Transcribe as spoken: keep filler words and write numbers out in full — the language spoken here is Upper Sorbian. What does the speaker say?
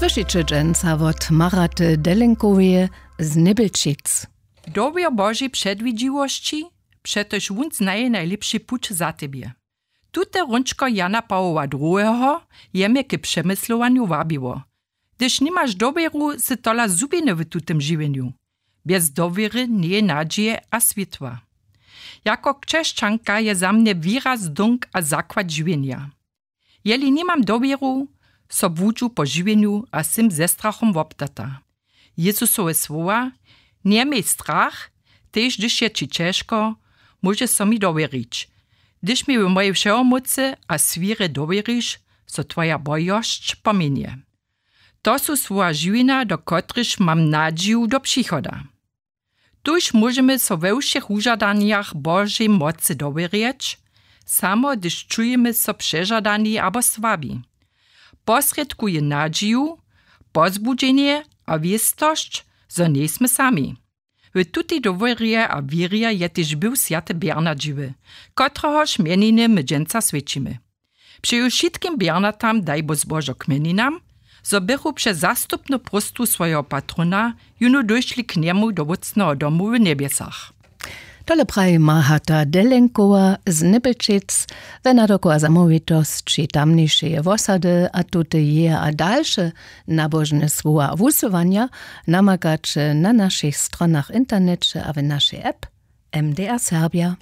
Słyšiće dźensa wot Maraty Delenkoweje z Nybelčic. Dowěr Božej předwidźiwosći, přetož wón znaje najlěpši puć za tebje. Tute hrónčko Jana Pawoła druheho je mje k přemyslowanju wabiło. Hdyž nimaš dowěru, sy tola zhubjeny w tutym žiwjenju. Bjez dowěry njeje nadźije a swětła. Jako křesćanka je za mnje wěra zdónk a zakład žiwjenja. Jeli nimam dowěru, so błudźu po žiwjenju a sym ze strachom woptata. Jezusowe słowa: „Njeměj strach, tež hdyž je ći ćežko, móžeš so mi dowěrić, hdyž mi w mojej wšehomócy a swěrje dowěriš, so twoja bojosć pomjenje.“ To su słowa žiwjenja, do kotrychž mam nadźiju do přichoda. Tuž móžemy so we wšěch wužadanjach Božej mocy dowěrjeć, samo hdyž čujemy so přežadani abo słabi. Posrědkuje nadźiju, pozbudźenje a wěstosć, zo njejsmy sami. W tutej dowěrje a wěrje je tež był swjaty Bernard žiwy, kotrehož mjeniny my dźensa swjećimy. Přeju wšitkim Bernardam daj Bóh zbožo k mjeninam, zo bychu přez zastupnu próstwu swojeho patrona jónu dóšli k njemu do wótcneho domu w njebjesach. Tole praji Mahata Delenkowa z Nybelčic we nadoku a zamołwitosći tamnišeje wosady a tute jeje a dalše nabožne słowa a wusyłanja namakaće na našich stronach w interneće a w našej app M D R Serbia.